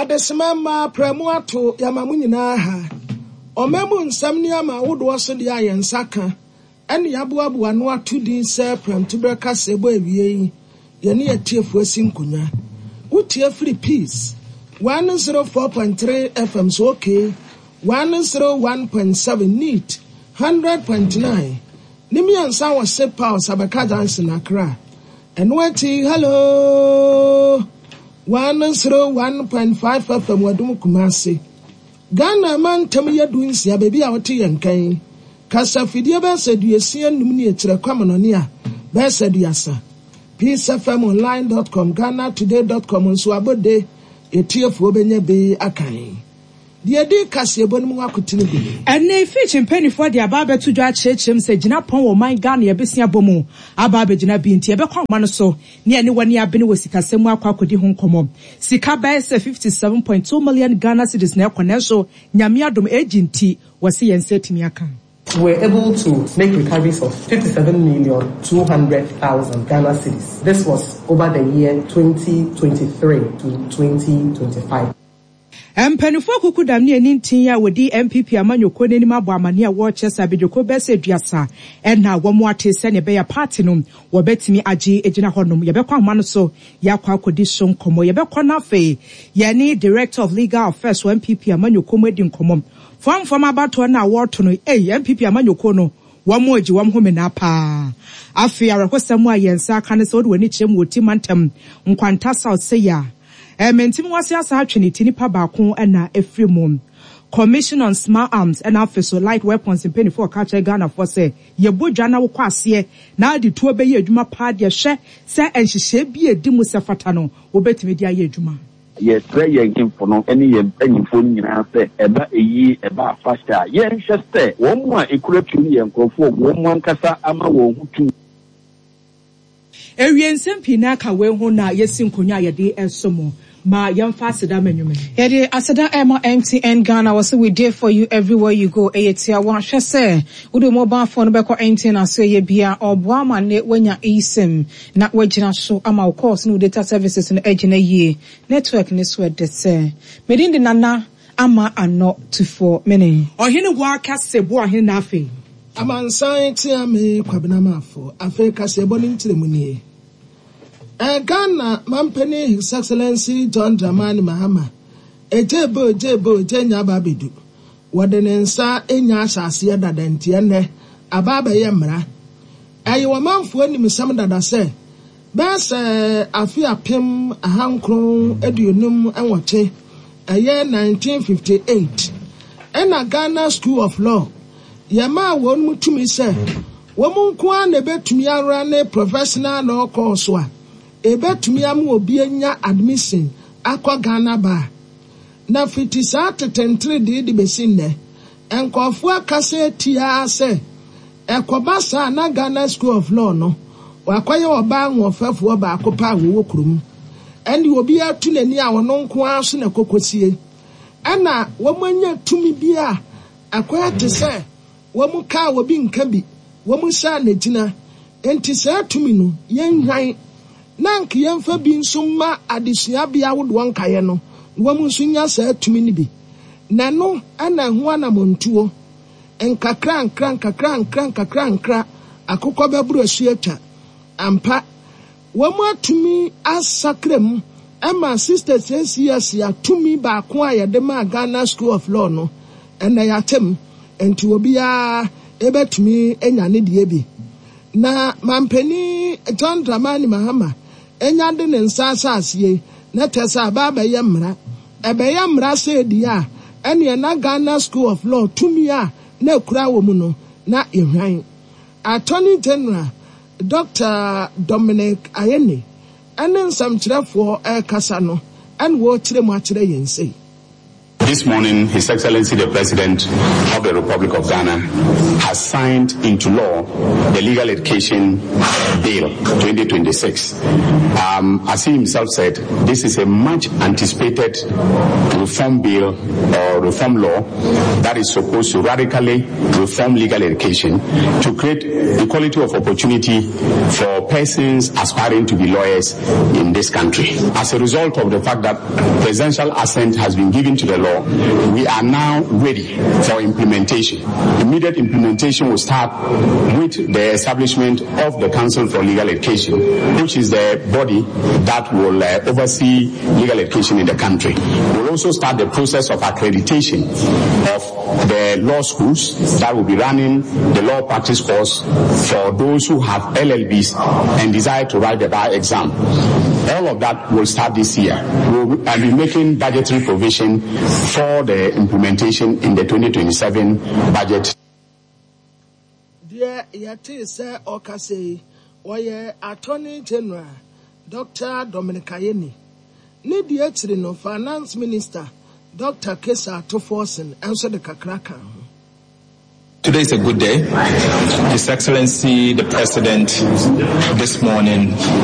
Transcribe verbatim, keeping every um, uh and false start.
Adesima mmaa prɛmo ato yɛama mo nyinaa ha. Ɔma mu nsɛm nneɛma ahodoɔ so deɛ a yɛn nsa ka ɛne yɛaboaboa no ato din sɛ prɛmtoberɛ kaseɛbɔ awie yi, yɛne yɛtiefoɔ asi nkonnwa. Wotie firi Peace one oh four point three F M so, okay, one oh one point seven, Neat one hundred point nine ne mmiɛnsa wɔ Sepa Sabaka Junction, Accra. Ɛno akyi, Hello one oh one point five F M Wadum, Kumase. Ghana mantam yɛ du nsia, baabi a wɔte yɛn kan kasafidie bɛyɛ sɛ aduosia num ne akyerɛ kwamanɔne a bɛyɛ sɛ aduasa. peace F M online dot com, Ghana Today dot com nso abɔde yɛtiefoɔ bɛnya bi akan deɛ di kaseɛbɔ no mu akotene gu. Ɛne Fitch mpanimfoɔ de aba abɛto dwa akyerɛkyerɛ mu sɛ gyina pɔn wɔ ɔman Ghana yɛbɛsia bɔ mu aba abɛgyina bi, nti yɛbɛkɔ ahoma no so ne ɛne wɔne abene wɔ sikasɛm mu akɔ akɔdi ho nkɔmmɔ. Sika bɛyɛ sɛ fifty-seven point two million Ghana cedis na ɛkɔ, nanso Nyame adom ɛgyi nti wɔse yɛn nsa atumi aka. We were able to make recoveries of fifty-seven million two hundred thousand Ghana cedis. This was over the year twenty twenty-three to twenty twenty-five. Mpanimfoɔ kuku dam ne ani ntin a wɔdi N P P amanyɔkuo n'anim abɔ amane a wɔrekyɛ sɛ abadwako bɛsɛ aduasa ɛna wɔn ate sɛnea ɛbɛyɛ party no wɔbɛtumi agye gyina hɔnom. Yɛbɛkɔ ahoma no so yɛakɔ akɔdi so nkɔmmɔ. Yɛbɛkɔ no afei yɛne Director of Legal Affairs wɔ N P P amanyɔkuo mu adi nkɔmmɔ. Fɔmfɔm abatoɔ no a wɔreto no, ei, N P P amanyɔkuo no wɔn mo agye wɔn ho menaa paa. Afei awerɛhosɛm a yɛn nsa aka no sɛ wode w'ani kyerɛ mu wɔ ti mantam Nkwanta South sɛ yɛ a ɛmɛntim wase asa atwe ne ti, nipa baako ɛna efiri mu. Commission on Small Arms ɛna afei so Light Weapons mpanimfoɔ ɔka kyerɛ Ghanafoɔ sɛ yɛbɔ dwa na wokɔ aseɛ na ade tuo bɛyɛ adwuma paa deɛ, hwɛ sɛ nhyehyɛe bi a edi mu sɛ fata no wobɛtumi de ayɛ adwuma. Yɛsrɛ yɛn hemfo no ne yɛn mpanyimfoɔ no nyinaa sɛ ɛba eyie, ɛba afahyɛ a, yɛnhwɛ sɛ wɔn mu a ekura tuo no yɛ nkurɔfoɔ wɔn mu ankasa ama wɔn ho tu. Ewie nsɛm pii na aka wei ho na yɛsi nkonnwa a yɛde ɛso mu ma yɛmfa aseda ma nnwuma. Yɛde aseda ɛma M T N Ghana. Wɔ sɛ we there for you everywhere you go. Ɛyɛ tia wɔahwɛ sɛ wode mobile phone bɛkɔ M T N aso ɛyɛ bia ɔboa ma ne woanya eSIM na woagyina so ama wo calls ne wo data services no agyina yie. Network ne so ɛdɛ sɛ medin de Nana Ama Anɔ Tufoɔ mene. Ɔhene wɔ akase bo ɔhene na afei. Amansan tea me Kwabena Maafo. Afei kaseɛbɔ no nkyerɛ mu nie. Ɛ Ghana mampanin His Excellency John Dramani Mahama egye bo egye bo egye nya aba abɛdu wɔde ne nsa enya ahyɛ aseɛ dada, nti ɛnɛ aba abɛyɛ mmara. Ɛyɛ ɔmanfoɔ animsɛm dada sɛ bɛyɛ sɛ afe apem ahankron aduonum nwɔtwe, ɛyɛ nineteen fifty-eight, ɛna Ghana School of Law yɛmaa wɔn mu tumi sɛ wɔn nko ara na ebetumi ara ne professional law course a ebetumi ama obi anya admission akɔ Ghana Bar. Na fiti saa tetentere de de besi nnɛ, nkɔfoɔ akasa etia sɛ ɛkɔba saa na Ghana School of Law no wakɔyɛ ɔbaa ahoɔfɛfoɔ baako pa a wɔwɔ kurom, ɛne obi atu n'ani a ɔno nko ara so na kɔkɔsie, ɛna wɔn anya tumi bi a akɔyɛ te sɛ wɔn kaa obi nka bi wɔn hyɛ a n'agyina. Nti saa tumi no yɛnhwan na nka yɛmfa bi nso mma adesuabea ahodoɔ nkaeɛ no na wɔn nso nya saa tumi no bi. Na ɛno ɛna ɛho anamontuo nkakra nkra nkakra nkra nkakra nkra akokɔ bɛboro asu atwa ampa. Wɔn atumi asakra mu ɛma sixty six years a tumi baako a yɛde maa Ghana School of Law no, ɛnna yɛatem nti obiara ebɛtumi anya ne deɛ bi. Na mampanin John Dramani Mahama enya de ne nsa ahyɛ aseɛ na kyerɛ sɛ aba abɛyɛ mmara. Ɛbɛyɛ mmara sɛ edi a ɛneɛ na Ghana School of Law tumi a na ekura wɔ mu no na ehwan. Attorney General Doctor Dominic Ayine ɛne nsɛmkyerɛfoɔ ɛrekasa no ɛna wɔrekyerɛ mu akyerɛ yɛn sei. This morning, His Excellency the President of the Republic of Ghana has signed into law the Legal Education Bill twenty twenty-six. Um, as he himself said, this is a much anticipated reform bill or reform law that is supposed to radically reform legal education to create equality of opportunity for persons aspiring to be lawyers in this country. As a result of the fact that presidential assent has been given to the law, we are now ready for implementation. Immediate implementation will start with the establishment of the Council for Legal Education, which is the body that will uh, oversee legal education in the country. We'll also start the process of accreditation of the law schools that will be running the law practice course for those who have L L Bs and desire to write the bar exam. All of that will start this year. We'll be making budgetary provision for the implementation in the twenty twenty-seven budget. Deɛ yɛtee sɛ ɔkasa yi, wɔyɛ Attorney General Doctor Dominic Ayine. Ne deɛ akyiri no, Finance Minister Doctor Cassiel Ato Forson nso de kakra ka ho. Today is a good day. His Excellency the President this morning